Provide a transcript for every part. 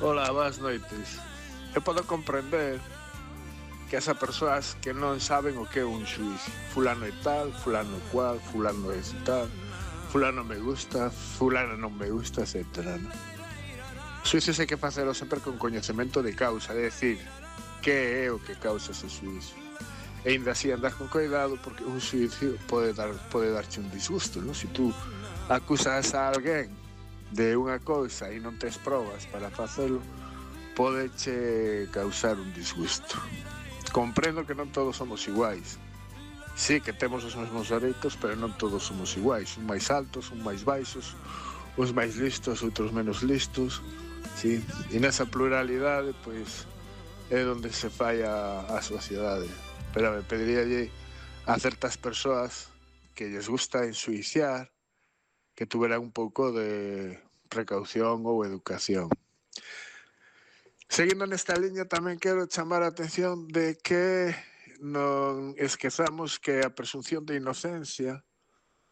Ola, boas noites. Eu podo comprender que esa persoas que non saben o que é un xuiz. Fulano é tal, fulano é cual, fulano é tal, fulano me gusta, fulano non me gusta, etc. ¿no? Xuíces hai que facelo sempre con coñecemento de causa, é dicir, que é o que causa ese xuiz. E ainda así andar con cuidado porque un xuicio pode darche un disgusto, ¿no? Si tú acusas a alguén de unha cousa e non tes probas para facelo, podeche causar un disgusto. Comprendo que non todos somos iguais. Sí que temos os mesmos dereitos, pero non todos somos iguais. Un máis altos, un máis baixos, uns máis listos, outros menos listos. Sí? E nesa pluralidade, pois, é onde se falla a sociedade. Pero me pediríalle a certas persoas que lles gusta ensuiciar que tuveran un pouco de precaución ou educación. Seguindo nesta liña, tamén quero chamar a atención de que non esquezamos que a presunción de inocencia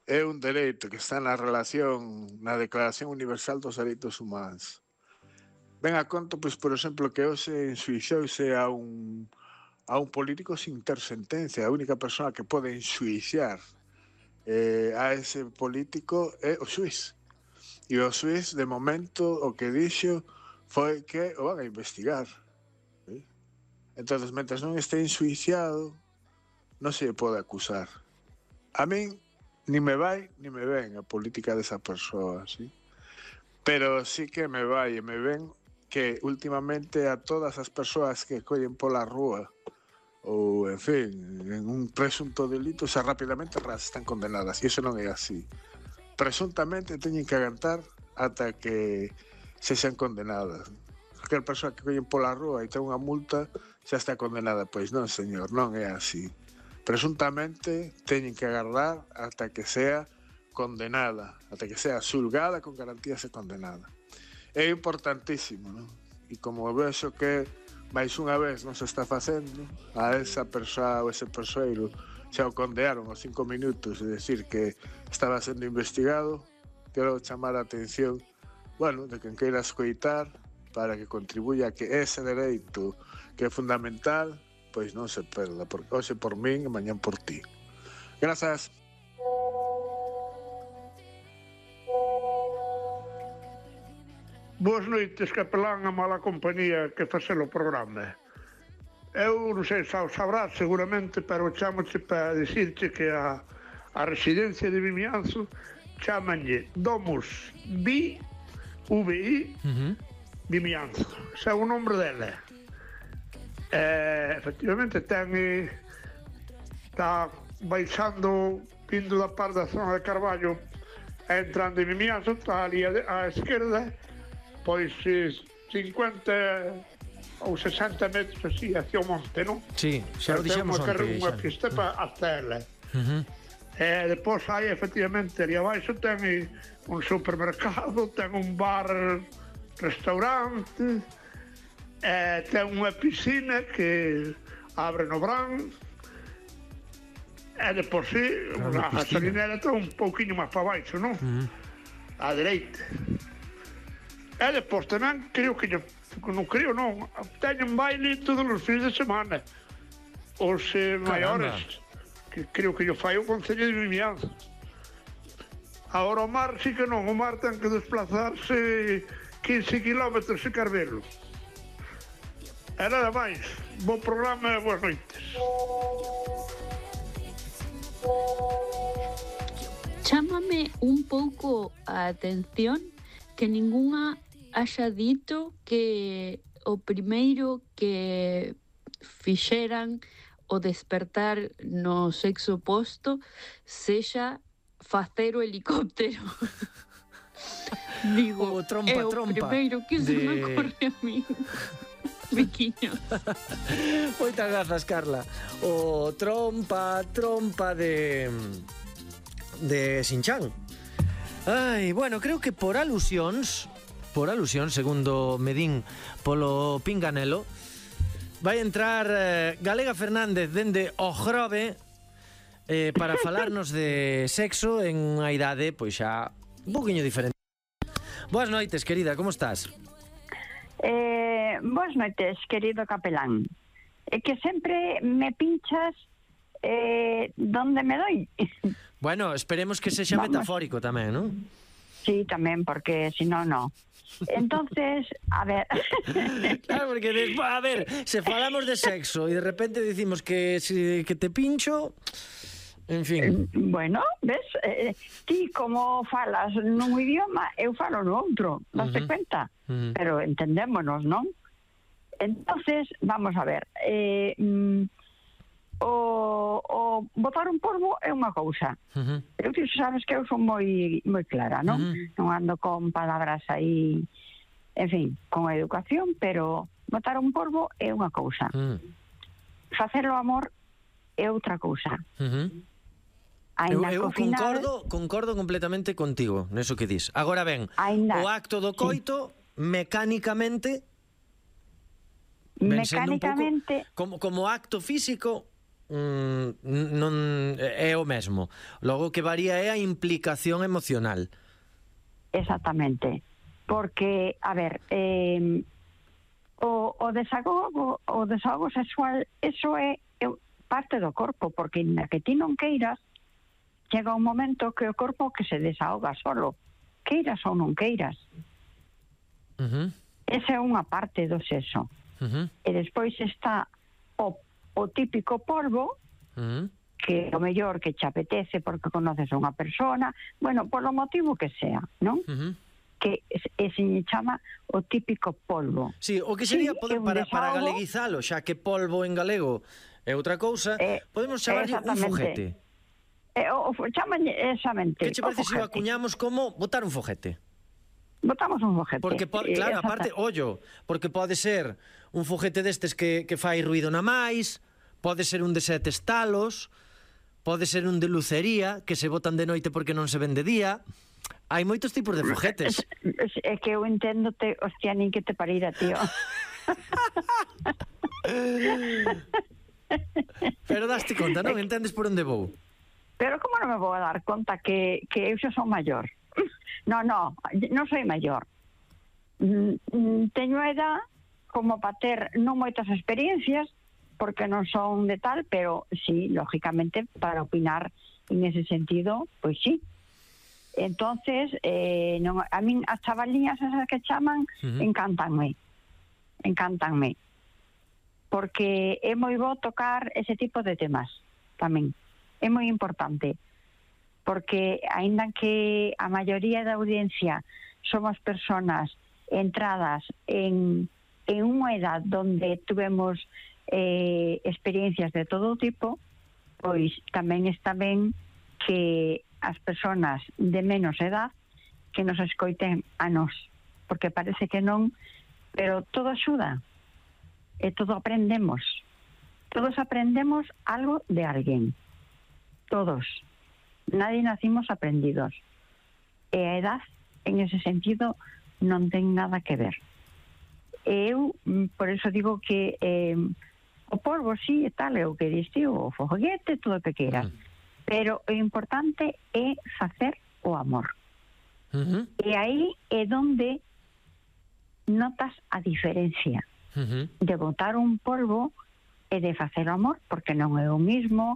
é un dereito que está na Declaración Universal dos Dereitos Humanos. Ven a conto, pois, por exemplo, que hoxe ensuixouse a un político sin ter sentencia. A única persoa que pode ensuiciar a ese político é o xuiz. E o xuiz, de momento, o que dixo foi que o van a investigar. ¿Sí? Entón, mentre non este ensuiciado, non se pode acusar. A min, ni me vai, ni me ven a política desa persoa, ¿sí? Pero sí que me vai e me ven que últimamente a todas as persoas que collen pola rúa ou, en fin, en un presunto delito, xa rapidamente están condenadas. E iso non é así. Presuntamente teñen que aguantar ata que se sean condenadas. Aquela persoa que collen pola rúa e ten unha multa xa está condenada. Pois non, señor, non é así. Presuntamente teñen que agardar ata que sea condenada, ata que sea xulgada con garantías e condenada. É importantísimo, non? E como vexo que máis unha vez non se está facendo, a esa persoa ou ese persoeiro xa o condearon aos 5 minutos de decir que estaba sendo investigado, quero chamar a atención, bueno, de quen queira escoitar para que contribuya a que ese dereito que é fundamental, pois non se perda, porque hoxe por min e mañán por ti. Grazas. Boas noites, capelán, a mala compañía que facelo o programa. Eu non sei se o sabrás seguramente, pero chamoche para dicirche que a residencia de Vimianzo chamanlle Domus VI Vimianzo. Ese é o nombre dela. Efectivamente está baixando, vindo da parte da zona de Carballo, entrando en Vimianzo, está ali á esquerda, pois 50 ou 60 metros así hacia o monte, non? Sí, xa o dixemos onte. Temos unha pista hasta ela. Depois hai, efectivamente, ali abaixo ten un supermercado, ten un bar, restaurante, ten unha piscina que abre no verán, e depois a gasolinera está un pouquiño máis para baixo, non? A dereita. E depois tamén creo que teñen baile todos os fins de semana. Os maiores, que creo que yo fai o Concello de Vimianzo. Agora o mar sí que non, o mar ten que desplazarse 15 kilómetros e Carvelo. E nada máis, bo programa e boas noites. Chámame un pouco a atención que ningunha haxa dito que o primeiro que fixeran o despertar no sexo oposto sexa facer o helicóptero. Digo, trompa, é o primeiro que se me ocorre a mí. Biquiño. Moitas grazas, Carla. O trompa de Sinchan. Ai, bueno, creo que por alusión, segundo medín polo pinganelo, vai entrar Galega Fernández dende o Grove para falarnos de sexo en unha idade pois xa un poquinho diferente. Boas noites, querida, como estás? Boas noites, querido capelán. É que sempre me pinchas donde me doy. Bueno, esperemos que sexa metafórico tamén, non? Sí, tamén, porque si no, no. Entonces, a ver... Claro, porque despois, a ver, se falamos de sexo e de repente dicimos que te pincho, en fin. Bueno, ves, ti como falas nun idioma, eu falo no outro, daste cuenta? Pero entendémonos, non? Entonces, vamos a ver, o botar un polvo é unha cousa. Eu ti sabes que eu son moi clara, non? Non ando con palabras aí, en fin, con educación, pero botar un polvo é unha cousa. Facer o amor é outra cousa. Eu concordo completamente contigo neso que dis. Agora ben, o acto do coito mecánicamente sendo un pouco como acto físico non é o mesmo. Logo que varía é a implicación emocional. Exactamente. Porque, a ver, o desahogo sexual, eso é parte do corpo, porque na que ti non queiras, chega un momento que o corpo que se desahoga solo, queiras ou non queiras. Esa é unha parte do sexo. E despois está o típico polvo, que o mellor que te apetece porque conoces a unha persona, bueno, polo motivo que sea, non? Que se chama o típico polvo. Sí, o que sería para galeguizalo, xa que polvo en galego é outra cousa, podemos chamarlle un foguete. Chaman examente. Que che parece se o acuñamos como botar un foguete? Botamos un foguete. Porque, claro, aparte, ollo, porque pode ser un foguete destes que fai ruido na máis, pode ser un de 7 estalos, pode ser un de lucería, que se botan de noite porque non se ven de día. Hai moitos tipos de foguetes. É que eu enténdote, hostia, nin que te parira, tío. Pero daste conta, non? Entendes por onde vou? Pero como non me vou a dar conta que eu xa son maior? Non soy maior. Teño edad como para ter non moitas experiencias, porque non son de tal, pero sí, lógicamente, para opinar en ese sentido, pois sí. Entonces, a min as chavaliñas esas que chaman, encántanme, porque é moi bo tocar ese tipo de temas tamén. É moi importante, porque aínda que a maioría da audiencia somos personas entradas en unha edad donde tuvemos experiencias de todo tipo, pois tamén está ben que as persoas de menos edad que nos escoiten a nós, porque parece que non, pero todo axuda e todo aprendemos. Todos aprendemos algo de alguén. Todos. Nadie nacimos aprendidos. E a edad, en ese sentido, non ten nada que ver. Eu, por eso digo que o polvo sí e tal, é o que diste, o foguete, todo o que queiras. Pero o importante é facer o amor. E aí é onde notas a diferencia de botar un polvo e de facer o amor, porque non é o mismo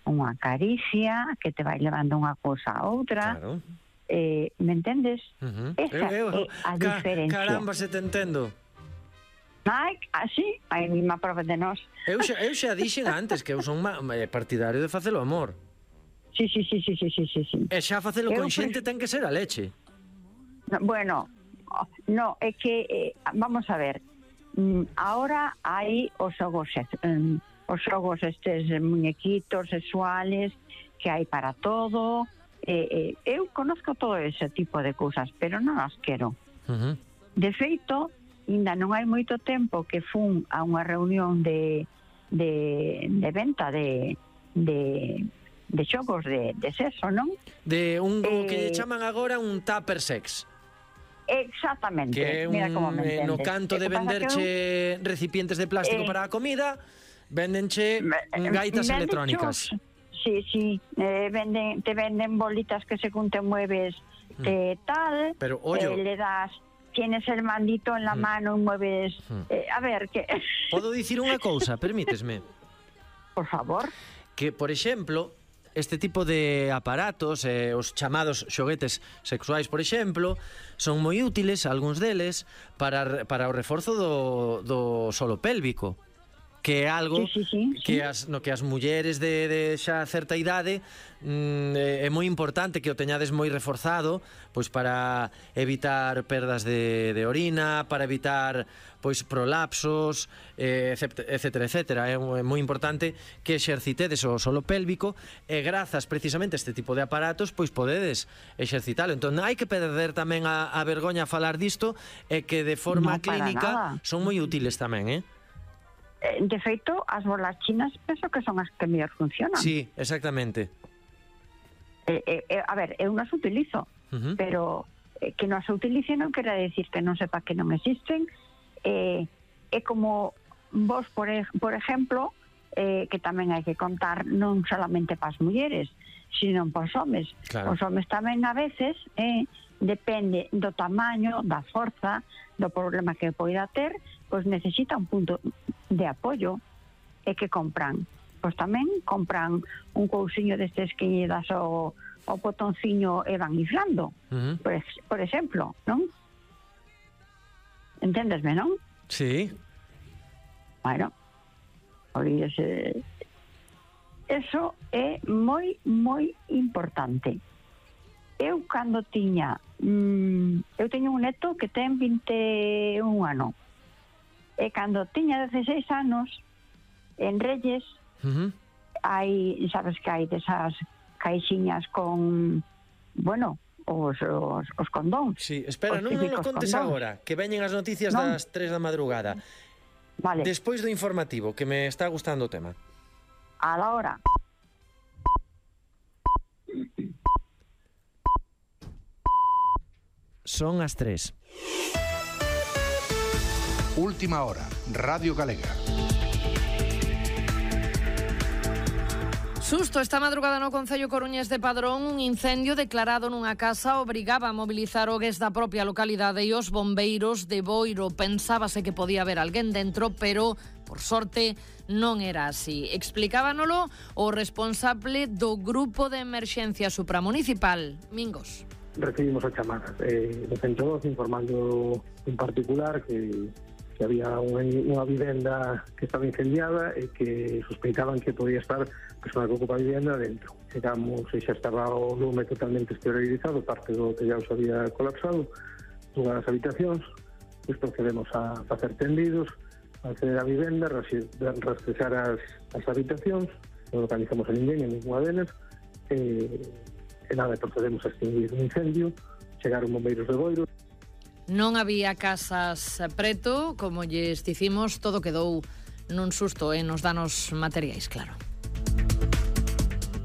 unha caricia que te vai levando unha cousa a outra. Claro. Me entendes? Esa é a diferencia. Caramba, se te entendo. Ai, así, hai mesma prova de nós. Eu xa dixen antes que eu son partidario de facelo amor. Sí. E xa facelo con xente ten que ser a leche. Bueno, no, é que, vamos a ver, ahora hai os xogos estes muñequitos sexuales que hai para todo. Eu conozco todo ese tipo de cousas, pero non as quero. De feito, ainda non hai moito tempo que fun a unha reunión de venta de xogos de sexo, non? De un que chaman agora un tupper sex. Exactamente. Que é no canto de venderche recipientes de plástico para a comida, vendenche gaitas electrónicas. Sí, te venden bolitas que según te mueves tal, pero ollo, le das tienes el mandito en la mano y mueves... a ver, que... Podo dicir unha cousa, permítesme? Por favor. Que, por exemplo, este tipo de aparatos, os chamados xoguetes sexuais, por exemplo, son moi útiles, algúns deles, para o reforzo do solo pélvico, que é algo que as mulleres de xa certa idade é moi importante que o teñades moi reforzado, pois para evitar perdas de orina, para evitar pois prolapsos, etcétera, etcétera. É moi importante que exercitedes o solo pélvico e grazas precisamente a este tipo de aparatos pois podedes exercitalo. Entón hai que perder tamén a vergoña a falar disto e que de forma clínica son moi útiles tamén, De feito, as bolas chinas penso que son as que mellor funcionan. Sí, exactamente. A ver, eu non as utilizo, pero que non as utilice non quere decir que non sepa que non existen. É como vos, por exemplo, que tamén hai que contar non solamente para as mulleres, sino para os homes. Os homes tamén a veces depende do tamaño, da forza, do problema que poida ter, pois necesita un punto de apoio e que compran. Pois tamén compran un cousiño destes que lle das o botonciño e van inflando. Por exemplo, non? Entendesme, non? Sí. Bueno, olvídese. Eso é moi, moi importante. Eu cando tiña... eu teño un neto que ten 21 anos. E cando tiña 16 anos, en Reyes, hai, sabes que hai desas caixiñas con, bueno, os condóns. Sí, espera, non nos contes agora, que veñen as noticias das 3 da madrugada. Vale. Despois do informativo, que me está gustando o tema. A la hora. Son as 3. Última hora, Radio Galega. Susto esta madrugada no concello coruñés de Padrón. Un incendio declarado nunha casa obrigaba a mobilizar o gués da propia localidade e os bombeiros de Boiro. Pensábase que podía haber alguén dentro, pero, por sorte, non era así. Explicábanolo o responsable do Grupo de Emerxencia Supramunicipal, Mingos. Recibimos a chamadas do 112 informando en particular que había unha vivenda que estaba incendiada e que sospeitaban que podía estar a persoa que ocupa a vivenda dentro. Chegamos e xa estaba o lume totalmente exteriorizado, parte do tellado se había colapsado, todas as habitacións, pois procedemos a facer tendidos, a acceder a vivenda, rastrexar as habitacións, non localizamos a ninguén en ninguna delas, e nada, procedemos a extinguir un incendio, chegaron bombeiros de Boiro. Non había casas preto, como lles dicimos, todo quedou nun susto e nos danos materiais, claro.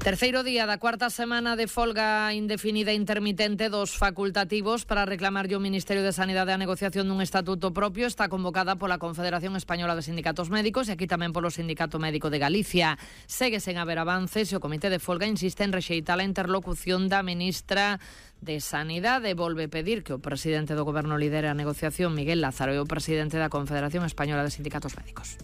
Terceiro día da cuarta semana de folga indefinida intermitente dos facultativos para reclamarlle ao Ministerio de Sanidade a negociación dun estatuto propio está convocada pola Confederación Española de Sindicatos Médicos e aquí tamén polo Sindicato Médico de Galicia. Segue sen haber avances e o Comité de Folga insiste en rexeitar a interlocución da ministra de Sanidade. Volve pedir que o presidente do Goberno lidere a negociación, Miguel Lázaro, e o presidente da Confederación Española de Sindicatos Médicos.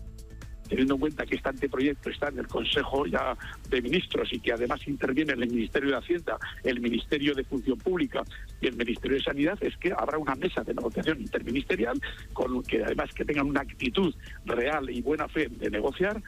Teniendo en cuenta que este anteproyecto está en el Consejo ya de Ministros y que además interviene en el Ministerio de Hacienda, el Ministerio de Función Pública y el Ministerio de Sanidad, es que habrá una mesa de negociación interministerial con que además que tengan una actitud real y buena fe de negociar.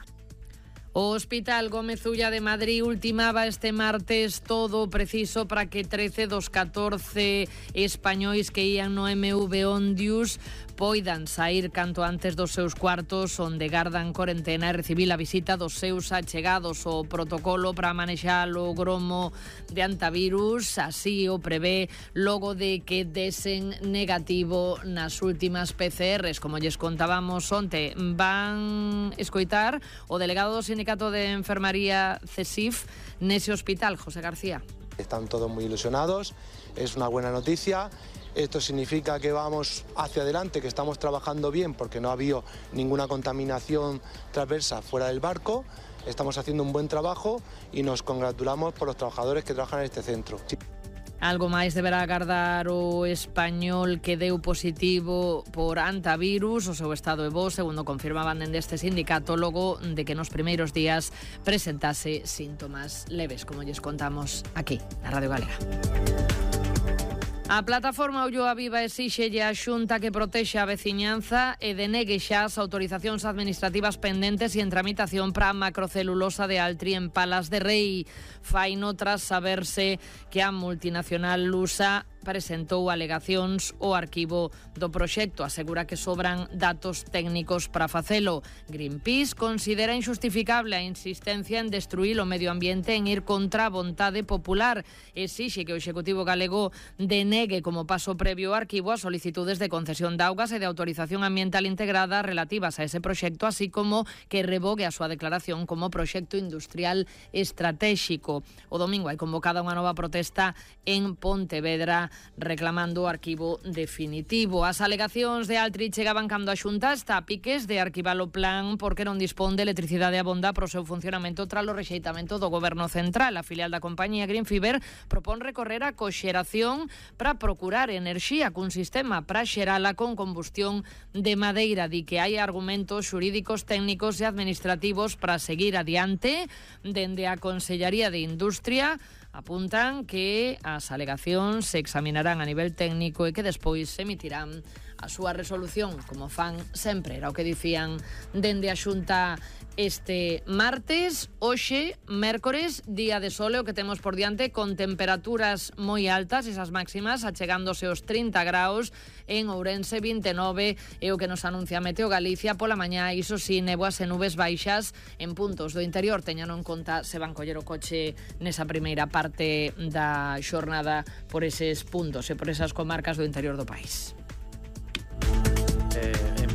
O Hospital Gómez Ulla de Madrid ultimaba este martes todo preciso para que 13 dos 14 españois que ían no MV Ondius poidan sair canto antes dos seus cuartos onde gardan corentena e recibir a visita dos seus achegados. O protocolo para manexar o gromo de antivirus así o prevé logo de que desen negativo nas últimas PCRs. Como lles contábamos onte, van escoitar o delegado do Sindicato de Enfermaría CESIF nese hospital, José García. Están todos muy ilusionados, es una buena noticia. Esto significa que vamos hacia adelante, que estamos trabajando bien porque no ha habido ninguna contaminación transversa fuera del barco. Estamos haciendo un buen trabajo y nos congratulamos por los trabajadores que trabajan en este centro. Algo máis deberá agardar o español que deu positivo por antivirus. O seu estado é bo, segundo confirmaban dende este sindicato, logo de que nos primeiros días presentase síntomas leves, como lles contamos aquí, na Radio Galega. A plataforma Ulloa Viva esíxelle a Xunta que protexa a veciñanza e denegue xa as autorizacións administrativas pendentes e en tramitación para a macrocelulosa de Altri en Palas de Rei. Faino tras saberse que a multinacional lusa presentou alegacións ao arquivo do proxecto. Asegura que sobran datos técnicos para facelo. Greenpeace considera injustificable a insistencia en destruir o medio ambiente en ir contra a vontade popular. Exixe que o Executivo galego denegue como paso previo ao arquivo as solicitudes de concesión de augas e de autorización ambiental integrada relativas a ese proxecto, así como que revogue a súa declaración como proxecto industrial estratégico. O domingo hai convocada unha nova protesta en Pontevedra reclamando o arquivo definitivo. As alegacións de Altri chegaban cando a Xunta está a piques de arquivar o plan porque non dispón de electricidade abonda para o seu funcionamento tras o rexeitamento do Goberno Central. A filial da compañía Greenfiber propón recorrer a coxeración para procurar enerxía cun sistema para xerala con combustión de madeira. Di que hai argumentos xurídicos, técnicos e administrativos para seguir adiante. Dende a Consellería de Industria apuntan que as alegacións se examinarán a nivel técnico e que despois se emitirán a súa resolución, como fan sempre. Era o que dicían dende a Xunta este martes. Hoxe, mércores, día de sol, o que temos por diante con temperaturas moi altas, esas máximas achegándose aos 30 graus en Ourense, 29 é o que nos anuncia Meteo Galicia pola mañá. Iso si, néboas e nubes baixas en puntos do interior. Teñano en conta se van coller o coche nesa primeira parte da xornada por eses puntos e por esas comarcas do interior do país.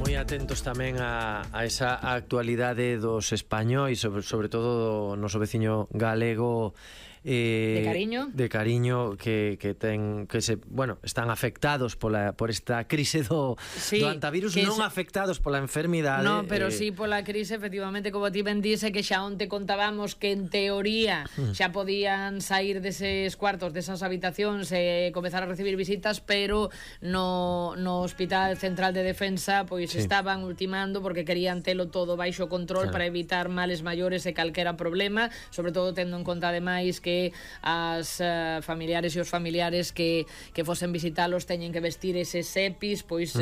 Moi atentos tamén a esa actualidade dos españois, sobre todo do noso veciño galego, de cariño que están afectados por esta crise do antivirus, non afectados pola enfermidade. No, pero sí pola crise, efectivamente, como ti ben dice, que xa onte contábamos que en teoría xa podían sair deses cuartos, desas habitacións e comezar a recibir visitas, pero no Hospital Central de Defensa pois estaban ultimando porque querían telo todo baixo control para evitar males maiores e calquera problema, sobre todo tendo en conta ademais que as familiares e os familiares que fosen visitalos teñen que vestir eses EPIs, pois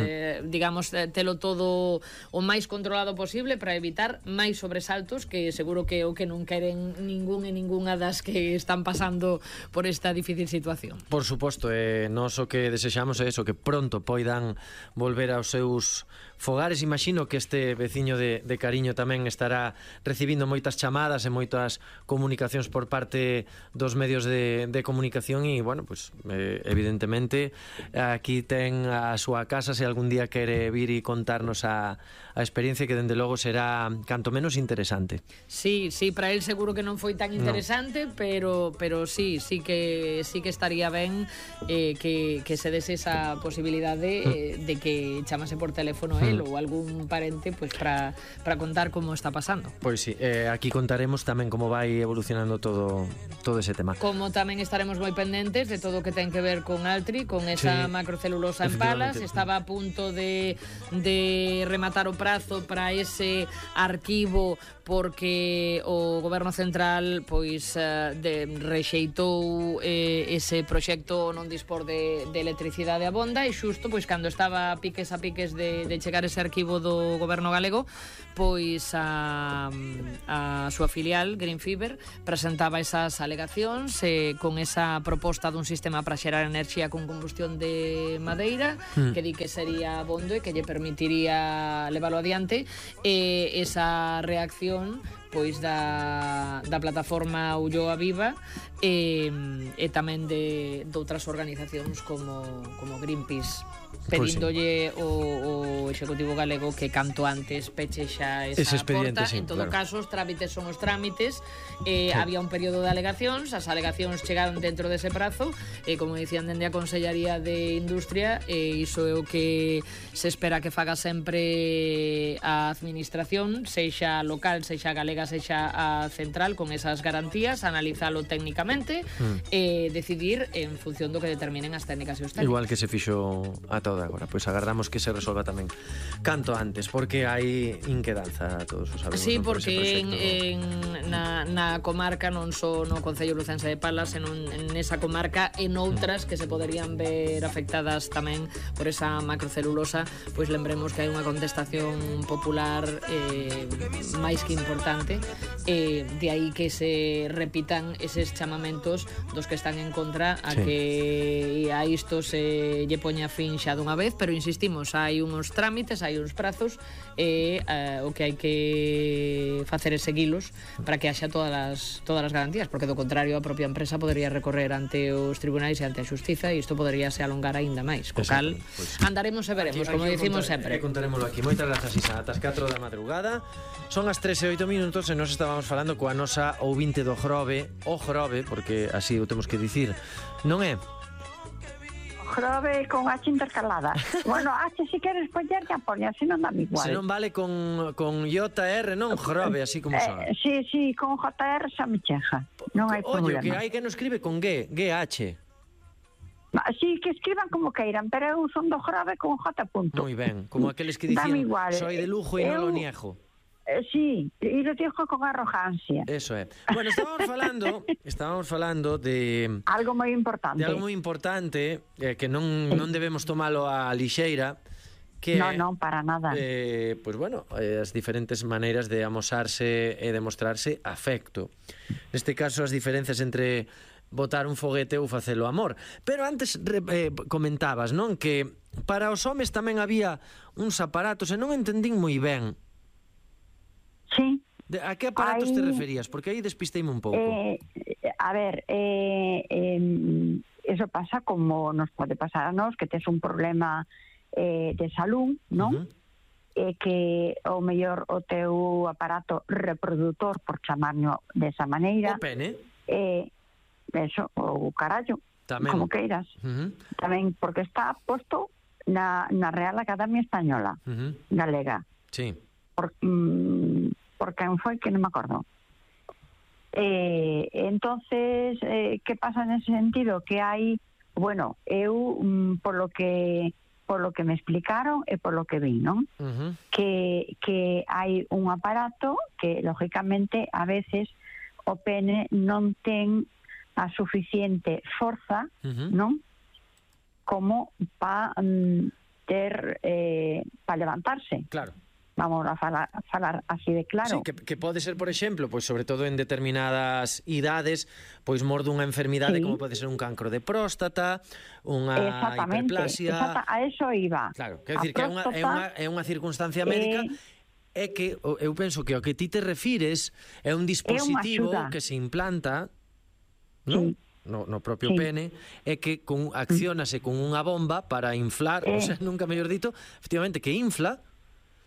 digamos, telo todo o máis controlado posible para evitar máis sobresaltos, que seguro que o que non queren ningún e ningunha das que están pasando por esta difícil situación. Por suposto, nós o que desexamos é eso, que pronto poidan volver aos seus fogares. Imagino que este veciño de Cariño tamén estará recibindo moitas chamadas e moitas comunicacións por parte dos medios de comunicación e, bueno, pues evidentemente aquí ten a súa casa se algún día quere vir e contarnos a experiencia, que dende logo será canto menos interesante. Sí, para él seguro que non foi tan interesante, pero sí que estaría ben que se dese esa posibilidade de que chamase por teléfono él ou algún parente pues para contar como está pasando. Pois sí, aquí contaremos tamén como vai evolucionando todo ese tema. Como tamén estaremos moi pendentes de todo o que ten que ver con Altri, con esa macrocelulosa en Palas. Estaba a punto de rematar o prazo para ese arquivo porque o Goberno Central pois rexeitou ese proxecto non dispor de electricidade abonda, e xusto pois cando estaba a piques de chegar ese arquivo do Goberno galego, pois a súa filial Greenfiber presentaba esas alegacións con esa proposta dun sistema para xerar enerxía con combustión de madeira, que di que sería abondo e que lle permitiría leválo adiante. Esa reacción pois da plataforma Ulloa Viva e tamén de outras organizacións como Greenpeace, pedíndolle o Executivo galego que canto antes peche xa esa porta. En todo caso, os trámites son os trámites. Había un período de alegacións, as alegacións chegaron dentro dese prazo, e como dicían dende a Consellería de Industria, iso é o que se espera que faga sempre a administración, sexa local, sexa galega chegase xa a central con esas garantías, analizalo técnicamente e decidir en función do que determinen as técnicas e os técnicos. Igual que se fixo a toda agora. Pois agardamos que se resolva tamén canto antes, porque hai inquedanza, todos os sabemos. Sí, porque na comarca, non só no Concello Lucense de Palas, en esa comarca, en outras que se poderían ver afectadas tamén por esa macrocelulosa, pois lembremos que hai unha contestación popular máis que importante, de aí que se repitan eses chamamentos dos que están en contra a que a isto se lle poña fin xa dunha vez, pero insistimos, hai uns trámites, hai uns prazos, o que hai que facer é seguilos para que haxa todas as garantías, porque do contrario a propia empresa podería recorrer ante os tribunais e ante a xustiza e isto podería se alongar aínda máis. Co cal, andaremos e veremos, como dicimos sempre. Contarémoslo aquí. Moitas grazas, Isa. Ata as 4 da madrugada. Son as 13:08 e nos estábamos falando coa nosa ouvinte do Grove, o Grove, porque así o temos que dicir, non é? Grove con H intercalada. Bueno, H si queres poñer ya pone, así non dá igual. Se non vale con JR, non? Grove, así como son. Sí, con JR xa me cheja. Non hai problema. Oye, que hai que non escribe con G, GH. Sí, que escriban como queiran, pero eu son do Grove con J. Moi ben, como aqueles que dicían soy de Lugo e non lo niego. Sí, e lo dijo con arrogancia. Eso é. Bueno, estábamos falando de algo moi importante. De algo moi importante que non debemos tomalo a lixeira, que non, para nada. Pois bueno, as diferentes maneiras de amosarse e demostrarse afecto. Neste caso, as diferenzas entre botar un foguete ou facelo amor. Pero antes comentabas, non, que para os homes tamén había uns aparatos e non entendín moi ben. Sí. A que aparatos te referías? Porque aí despisteime un pouco. A ver, eso pasa como nos pode pasar a nós, que tes un problema de salud, non? Que o mellor o teu aparato reproductor, por chamarlo desa maneira, o pene, eso, o carallo, tamén, como queiras, tamén, porque está posto na Real Academia Española, galega. Sí. Por quen foi, que non me acordo. Entonces, que pasa nese sentido? Que hai, bueno, eu polo que me explicaron e polo que vi, non? Que hai un aparato que, lógicamente, a veces o pene non ten a suficiente forza, non? Como para ter para levantarse. Claro. Vamos a falar así de claro. Sí, que pode ser, por exemplo, pois sobre todo en determinadas idades, pois mor dunha enfermidade como pode ser un cancro de próstata, unha hiperplasia. A eso iba. Claro, quer dicir que é unha circunstancia médica. É que eu penso que ao que ti te refires é un dispositivo que se implanta, non? No propio pene, é que acciónase con unha bomba para inflar, o sea, nunca mellor dito, efectivamente, que infla.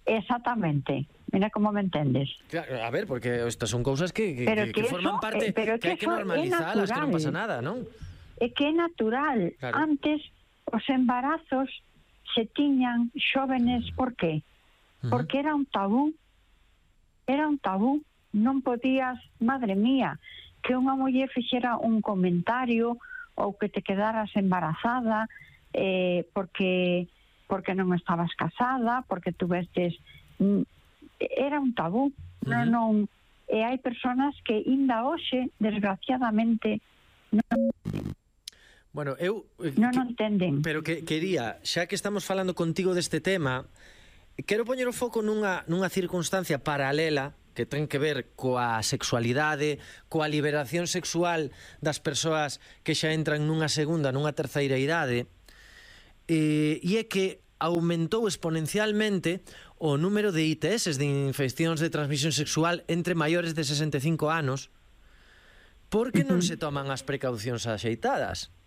Exactamente, mira como me entendes. Claro, a ver, porque estas son cousas que forman parte, que hai que normalizalas, que non pasa nada, non? É que é natural. Claro. Antes os embarazos se tiñan xóvenes, por qué? Porque era un tabú. Era un tabú. Non podías, madre mía, que unha muller fixera un comentario ou que te quedaras embarazada porque non estabas casada, porque tuvestes... Era un tabú. Non, e hai persoas que ainda hoxe, desgraciadamente, non... Bueno, eu... non entenden. Pero que quería, xa que estamos falando contigo deste tema, quero poñer o foco nunha circunstancia paralela que ten que ver coa sexualidade, coa liberación sexual das persoas que xa entran nunha segunda, nunha terceira idade, e é que aumentou exponencialmente o número de ITS, de infeccións de transmisión sexual entre maiores de 65 anos, porque non se toman as precaucións axeitadas.